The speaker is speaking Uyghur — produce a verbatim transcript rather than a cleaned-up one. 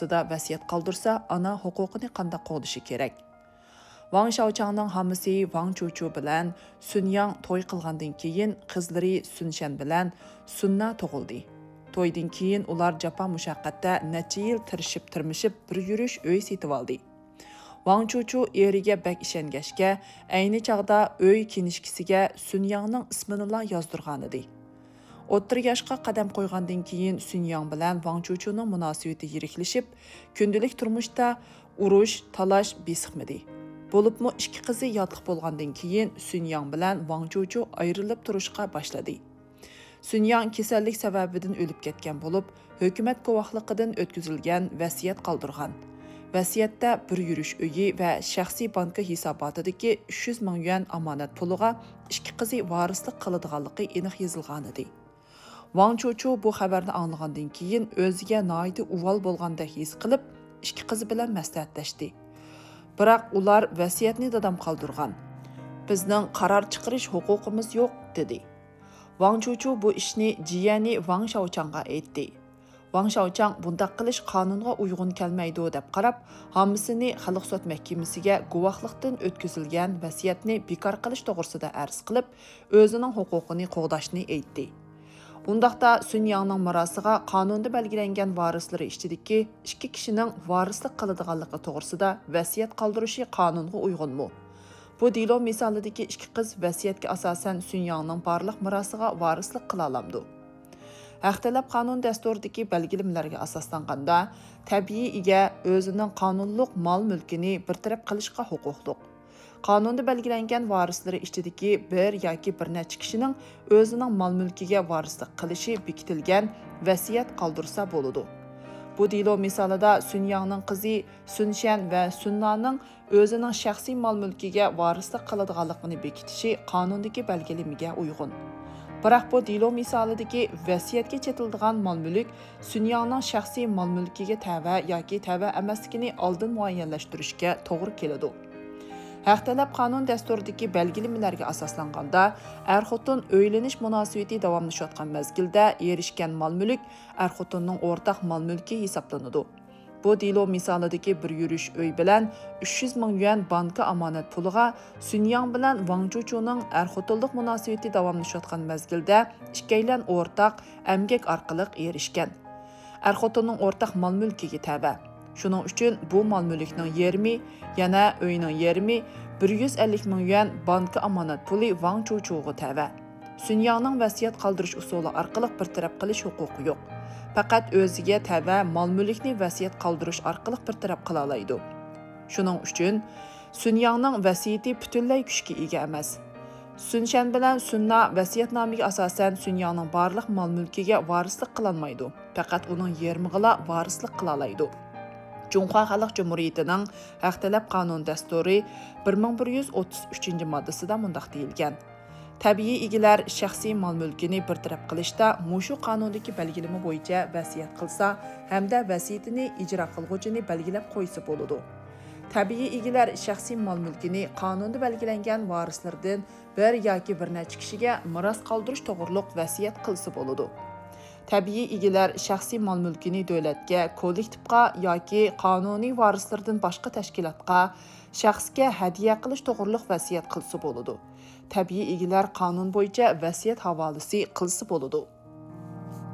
ۋاسىتىدە ۋەسىيەت قالدۇرسا، ئانا ھوقۇقىنى قانداق قوغدىشى كېرەك؟ ۋاڭ شياۋچاڭنىڭ ھامىسى ۋاڭ چۇچۇ بىلەن سۈن ياڭ توي قىلغاندىن كېيىن، قىزلىرى سۈن شەن بىلەن سۈن نا تۇغۇلدى. تويدىن كېيىن ئۇلار جاپا-مۇشەققەتتە نەچچە يىل تىرىشىپ-تىرمىشىپ بىر يۈرۈش ئۆي سېتىۋالدى. ۋاڭ چۇچۇ ئېرىگە بەك ئىشەنگەچكە، ئەينى چاغدا ئۆي كىنىشكىسىگە سۈن ياڭنىڭ ئىسمىنىلا يازدۇرغانىدى. ئوتتۇرا ياشقا قەدەم قويغاندىن كېيىن، سۈن ياڭ بىلەن ۋاڭ چۇچۇنىڭ مۇناسىۋىتى يىرىكلىشىپ، كۈندىلىك تۇرمۇشتا ئۇرۇش، تالاش بېسىقمىدى. بولۇپمۇ ئىككى قىزى ياتلىق بولغاندىن كېيىن، سۈن ياڭ بىلەن ۋاڭ چۇچۇ ئايرىلىپ تۇرۇشقا باشلىدى. سۈن ياڭ كېسەللىك سەۋەبىدىن ئۆلۈپ كەتكەن بولۇپ، ھۆكۈمەت گۇۋاھلىقىدىن ئۆتكۈزۈلگەن ۋەسىيەت قالدۇرغان. ۋەسىيەتتە بىر يۈرۈش ئۆيى ۋە شەخسىي بانكا ھېساباتىدىكى ئۈچ يۈز مىڭ يۈەن ئامانەت پۇلىغا ئىككى قىزى ۋارىسلىق قىلىدىغانلىقى ئېنىق يېزىلغانىدى. ۋاڭ چۇچۇ بۇ خەۋەرنى ئاڭلىغاندىن كېيىن، ئۆزىگە ناھايىتى ئۇۋال بولغاندەك ھېس قىلىپ، ئىككى قىزى بىلەن مەسلىھەتلەشتى. بىراق ئۇلار ۋەسىيەتنى دادام قالدۇرغان. بىزنىڭ قارار چىقىرىش ھوقۇقىمىز يوق، دېدى. ۋاڭ چۇچۇ بۇ ئىشنى جىيەنى ۋاڭ شياۋچاڭغا ئېيتتى. ۋاڭ شياۋچاڭ بۇنداق قىلىش قانۇنغا ئۇيغۇن كەلمەيدۇ دەپ قاراپ، ھامىسىنى خەلق سوت مەھكىمىسىگە گۇۋاھلىقتىن ئۆتكۈزۈلگەن ۋەسىيەتنى بىكار قىلىش توغرىسىدا ئەرز قىلىپ، ئۆزىنىڭ ھوقۇقىنى قوغداشنى ئېيتتى. ئۇنداقتا سۈن ياڭنىڭ مىراسىغا قانۇندا بەلگىلەنگەن ۋارىسلىرى ئىچىدىكى ئىككى كىشىنىڭ ۋارىسلىق قىلىدىغانلىقى توغرىسىدا ۋەسىيەت قالدۇرۇشى قانۇنغا ئۇيغۇنمۇ؟ بۇ دېلو مىسالىدىكى ئىككى قىز ۋەسىيەتكە ئاساسەن سۈن ياڭنىڭ بارلىق مىراسىغا ۋارىسلىق قىلالامدۇ؟ ھەق تەلەپ قانۇن دەستۇرىدىكى بەلگىلىمىلەرگە ئاساسلانغاندا، تەبىئىي ئىگە ئۆزىنىڭ قانۇنلۇق مال-مۈلكىنى بىر تەرەپ قىلىشقا ھوقۇقلۇق. قانۇندا بەلگىلەنگەن ۋارىسلىرى ئىچىدىكى بىر ياكى بىر نەچچە كىشىنىڭ ئۆزىنىڭ مال-مۈلكىگە ۋارىسلىق قىلىشى بېكىتىلگەن ۋەسىيەت قالدۇرسا بولىدۇ. بۇ دېلو مىسالىدا سۈن ياڭنىڭ قىزى سۈن شەن ۋە سۈن نانىڭ ئۆزىنىڭ شەخسىي مال-مۈلكىگە ۋارىسلىق قىلىدىغانلىقىنى بېكىتىشى قانۇندىكى بەلگىلىمىگە ئۇيغۇن. بىراق بۇ دېلو مىسالىدىكى ۋەسىيەتكە چېتىلىدىغان مال-مۈلۈك سۈن ياڭنىڭ شەخسىي مال-مۈلكىگە تەۋە ياكى تەۋە ئەمەسلىكىنى ئالدىن مۇئەييەنلەشتۈرۈشكە توغرا كېلىدۇ. ھەق تەلەپ قانۇن دەستۇرىدىكى بەلگىلىمىلەرگە ئاساسلانغاندا، ئەر-خوتۇن ئۆيلىنىش مۇناسىۋىتى داۋاملىشىۋاتقان مەزگىلدە ئېرىشكەن مال-مۈلۈك ئەر-خوتۇننىڭ ئورتاق مال-مۈلكى ھېسابلىنىدۇ. بۇ دېلو مىسالىدىكى بىر يۈرۈش ئۆي بىلەن ئۈچ يۈز مىڭ يۈەن بانكا ئامانەت پۇلىغا سۈن ياڭ بىلەن ۋاڭ چۇچۇنىڭ ئەر-خوتۇنلۇق مۇناسىۋىتى داۋاملىشىۋاتقان مەزگىلدە ئىككىيلەن ئورتاق ئەمگەك ئارقىلىق ئېرىشكەن. ئەر-خوتۇننىڭ ئورتاق مال-مۈلكىگە تەۋە. شۇنىڭ ئۈچۈن بۇ مال-مۈلۈكنىڭ يېرىمى، يەنە ئۆينىڭ يېرىمى، بىر يۈز ئەللىك مىڭ يۈەن بانكا ئامانەت پۇلى ۋاڭ چۇچۇغا تەۋە. سۈن ياڭنىڭ ۋەسىيەت قالدۇرۇش ئۇسۇلى ئارقىلىق بىر تەرەپ قىلىش ھوقۇقى يوق. پەقەت ئۆزىگە تەۋە مال-مۈلۈكنى ۋەسىيەت قالدۇرۇش ئارقىلىق بىر تەرەپ قىلالايدۇ. شۇنىڭ ئۈچۈن سۈن ياڭنىڭ ۋەسىيىتى پۈتۈنلەي كۈچكە ئىگە ئەمەس. سۈن شەن بىلەن سۈن نا ۋەسىيەتنامىگە ئاساسەن سۈن ياڭنىڭ بارلىق مال-مۈلكىگە ۋارىسلىق قىلالمايدۇ، پەقەت ئۇنىڭ يېرىمىغىلا ۋارىسلىق قىلالايدۇ. جۇڭخۇا خەلق جۇمھۇرىيىتىنىڭ ھەق تەلەپ قانۇن دەستۇرى بىر مىڭ بىر يۈز ئوتتۇز ئۈچىنچى ماددىسىدا مۇنداق دېيىلگەن: تەبىئىي ئىگىلەر شەخسىي مال-مۈلكىنى بىر تەرەپ قىلىشتا مۇشۇ قانۇندىكى بەلگىلىمە بويىچە ۋەسىيەت قىلسا ھەمدە ۋەسىيىتىنى ئىجرا قىلغۇچىنى بەلگىلەپ قويسا بولىدۇ. تەبىئىي ئىگىلەر شەخسىي مال-مۈلكىنى قانۇندا بەلگىلەنگەن ۋارىسلىرىدىن بىر ياكى بىر نەچچە كىشىگە مىراس قالدۇرۇش توغرۇلۇق ۋەسىيەت قىلسا بولىدۇ. تەبىئىي ئىگىلەر شەخسىي مال-مۈلكىنى دۆلەتكە، كوللېكتىپقا ياكى قانۇنىي ۋارىسلىرىدىن باشقا تەشكىلاتقا، شەخسكە ھەدىيە قىلىش توغرۇلۇق ۋەسىيەت قىلسا بولىدۇ. تەبىئىي ئىگىلەر قانۇن بويىچە ۋەسىيەت ھاۋالىسى قىلسا بولىدۇ.